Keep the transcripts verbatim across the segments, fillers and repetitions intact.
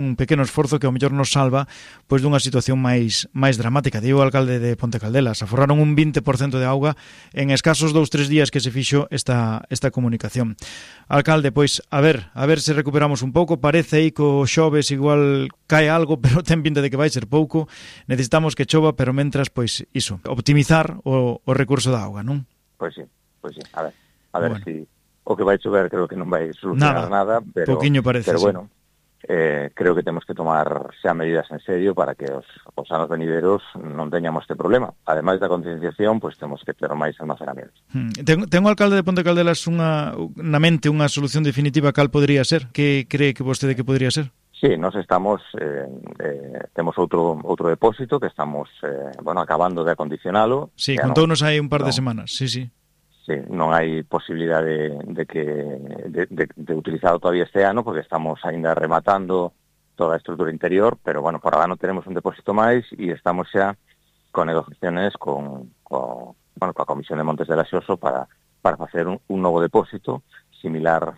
un pequeno esforzo que ao mellor nos salva pois dunha situación máis máis dramática. Digo o alcalde de Ponte Caldelas, aforraron un vinte por cento de auga en escasos dous, tres días que se fixo esta esta comunicación. Alcalde, pois, a ver, a ver se recuperamos un pouco, parece aí co xoves igual cae algo, pero ten pinta de que vai ser pouco. Necesitamos que chova, pero mentras, pois, iso, optimizar o, o recurso da auga, non? Pois sí, pois sí, a ver, a ver bueno. si o que vai chover creo que non vai solucionar nada, nada pero, Pouquiño parece, pero sí. bueno, Eh, creo que temos que tomar xa medidas en serio para que os, os anos venideros non teñamos este problema. Ademais da concienciación, pois pues, temos que ter máis almacenamientos. Hmm. Ten, ten o alcalde de Ponte Caldelas unha, na mente unha solución definitiva cal podría ser? Que cree que vostede que podría ser? Sí, nos estamos eh, eh, temos outro outro depósito que estamos eh, bueno, acabando de acondicionalo. Sí, contounos hai un par no, de semanas, sí, sí. Sí, non hai posibilidade de, de que de, de, de utilizado todavía este ano porque estamos aínda rematando toda a estrutura interior, pero bueno, por agora non tenemos un depósito máis e estamos xa con negociaciones con, con bueno, coa Comisión de Montes de Laxoso para para facer un, un novo depósito similar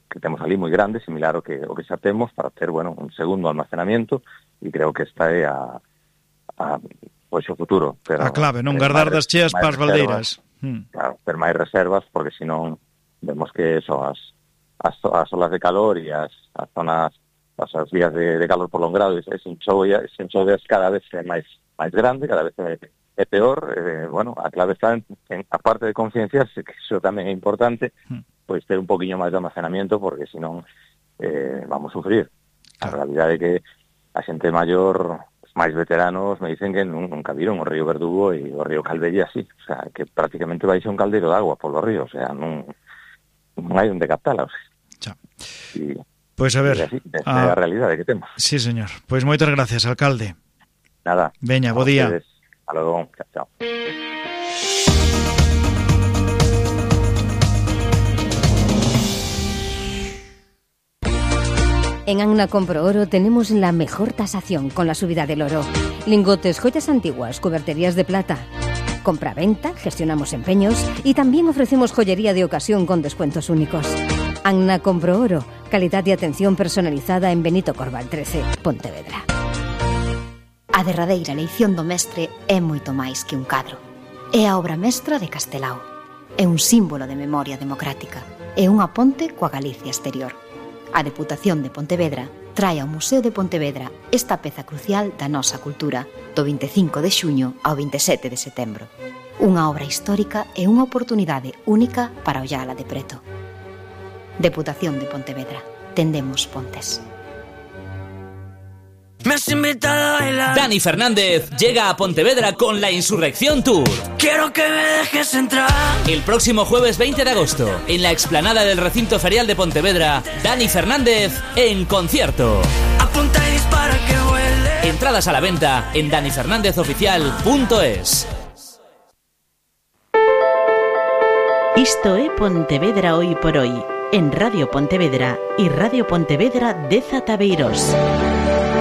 que temos ali moi grande, similar ao que o que xa temos para ter, bueno, un segundo almacenamiento e creo que esta é a a pois o futuro, pero a clave, non guardar das cheas para as baldeiras. Hmm. Claro, ter máis reservas, porque senón vemos que eso, as, as, as olas de calor e as, as zonas, as, as días de, de calor prolongado, ese enxoves cada vez é máis máis grande, cada vez é, é peor. Eh, bueno, a clave está en, en a parte de concienciarse, que iso tamén é importante, hmm. pois ter un poquinho máis de almacenamiento, porque senón eh, vamos a sufrir. Claro. A realidade é que a xente maior, máis veteranos, me dicen que nunca viron o río Verdugo e o río Calvelle así, o sea, que prácticamente vai ser un caldeiro de agua polo río, o sea, non, non hai onde captala, o sea. E, pois a ver, así, esa a... é a realidade que temos. Sí, señor. Pois moitas gracias, alcalde. Nada. Veña, bo día. Hasta logo, chao, chao. En Anna Compro Oro tenemos la mejor tasación con la subida del oro. Lingotes, joyas antiguas, cuberterías de plata. Compra-venta, gestionamos empeños y también ofrecemos joyería de ocasión con descuentos únicos. Anna Compro Oro, calidad y atención personalizada en Benito Corval trece, Pontevedra. A derradeira leición do mestre é moito máis que un cadro. É a obra mestra de Castelao. É un símbolo de memoria democrática. É unha ponte coa Galicia exterior. A Deputación de Pontevedra trae ao Museo de Pontevedra esta peza crucial da nosa cultura do vinte e cinco de xuño ao vinte e sete de setembro. Unha obra histórica e unha oportunidade única para ollala de preto. Deputación de Pontevedra. Tendemos pontes. Me has invitado a bailar. Dani Fernández llega a Pontevedra con la Insurrección Tour. Quiero que me dejes entrar. El próximo jueves veinte de agosto, en la explanada del recinto ferial de Pontevedra, Dani Fernández en concierto. Apunta y dispara que huele. Entradas a la venta en dani fernández oficial punto es. Isto é Pontevedra hoy por hoy, en Radio Pontevedra e Radio Pontevedra dez Tabeiros.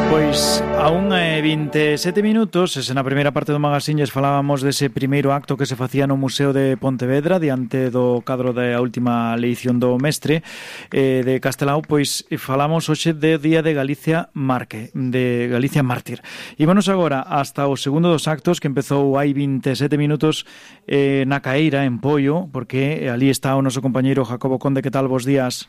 Pois a unha e vinte e sete minutos, e se na primeira parte do magazine falábamos dese primeiro acto que se facía no Museo de Pontevedra diante do cadro da última eleición do mestre eh, de Castelao, pois falamos hoxe de Día de Galicia Marque, de Galicia Mártir. E vamos agora hasta o segundo dos actos que empezou hai vinte e sete minutos eh, na Caeira, en Poio, porque ali está o noso compañeiro Jacobo Conde. Que tal, vos días?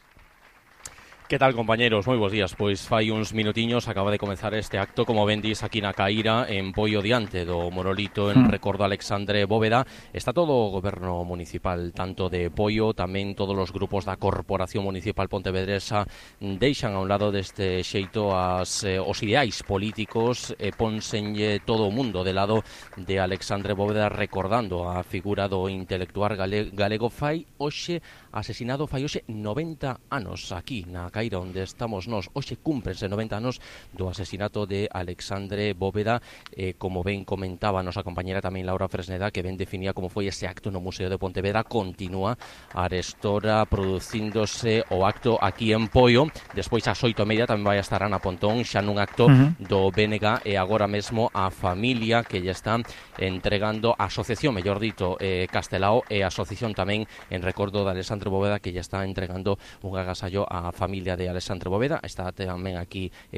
Que tal, compañeros? Moi bons días. Pois fai uns minutiños acaba de comenzar este acto, como ben dis, aquí na Caíra, en Poio, diante do monolito en recordo a Alexandre Bóveda. Está todo o goberno municipal, tanto de Poio, tamén todos os grupos da Corporación Municipal Pontevedresa deixan a un lado deste xeito as, eh, os ideais políticos e ponsenlle todo o mundo de lado de Alexandre Bóveda, recordando a figura do intelectual gale, galego. Fai hoxe asesinado, fai hoxe noventa anos aquí na Caíra, onde estamos nós. Hoxe cúmprense noventa anos do asesinato de Alexandre Bóveda, eh, como ben comentaba a nosa compañera tamén Laura Fresneda, que ben definía como foi ese acto no Museo de Pontevedra. Continúa arestora producíndose o acto aquí en Poio. Despois ás oito e media tamén vai estar Ana Pontón xa nun acto uh-huh. do B N G, e agora mesmo a familia que lle está entregando a asociación, mellor dito, eh, Castelao, e a asociación tamén en recordo de Alexandre Bóveda, que lle está entregando un agasallo á familia familia de Alexandre Bóveda. Está tamén aquí eh,